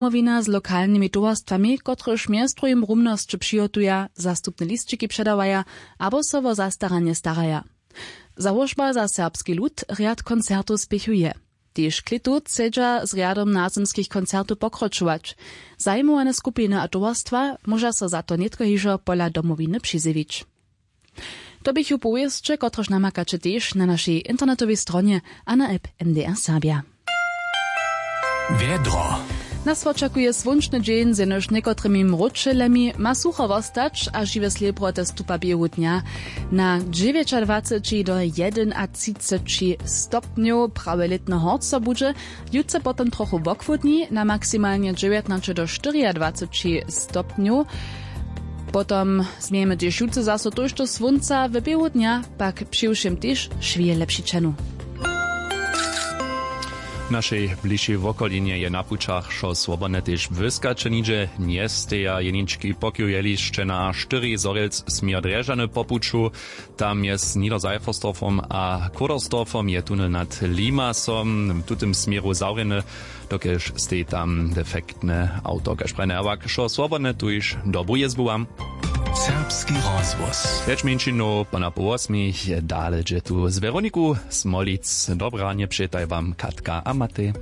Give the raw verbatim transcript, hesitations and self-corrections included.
Domowina z lokalnymi towarstwami, kotrež mjez druhim rumnosće přihotuja, zastupne lisćiki předawaja abo so wo zastaranje staraja. Załožba za serbski lud rjad koncertow spěchuje. Tež klětu chcedźa z rjadom nazymskich koncertow pokročować. Zajimowane skupiny a towarstwa móža so za to nětko hižo pola Domowiny přizjewić. To běchu powěsće, kotrež namakaće tež na našej internetowej stronje a na app M D R Serbja. Wjedro. Nas wočakuje słónčny dźeń z jenož někotrymi mróčelemi, ma sucho wostać a žiwe slěbroty stupa běhu dnja na dźewjećadwaceći do jedynatřiceći stopnjow. Prawje lětny horco budźe jutře potom trochu wochłódni, na maksimalnje dźewjatnaće do štyriadwaceći stopnjow. Potom změjemy tež jutře zaso tójšto słónca, w běhu dnja pak přiwšěm tež šwije lepši ćenu. W našej bližšej wokolinje je na pućach wšo swobodne, tež błyskaće nihdźe njesteja. Jenički pokiw jelišće na štyri zhorjelc směr drježany po puću. Tam mjez Niederseiffersdorfom a Kodersdorfom je tunel nad Limasom w tutym směru zawrjeny, dokelž steji tam defektne awto. Kaž prajne, a wak wšo swobodne, tuž dobru jězbu wam. Serbski rozhłos. Pjeć mjeńšinow po na poł wosmich dale dźe tu z Weroniku Smolic. Dobre ranje přetaj wam Katka a Matej.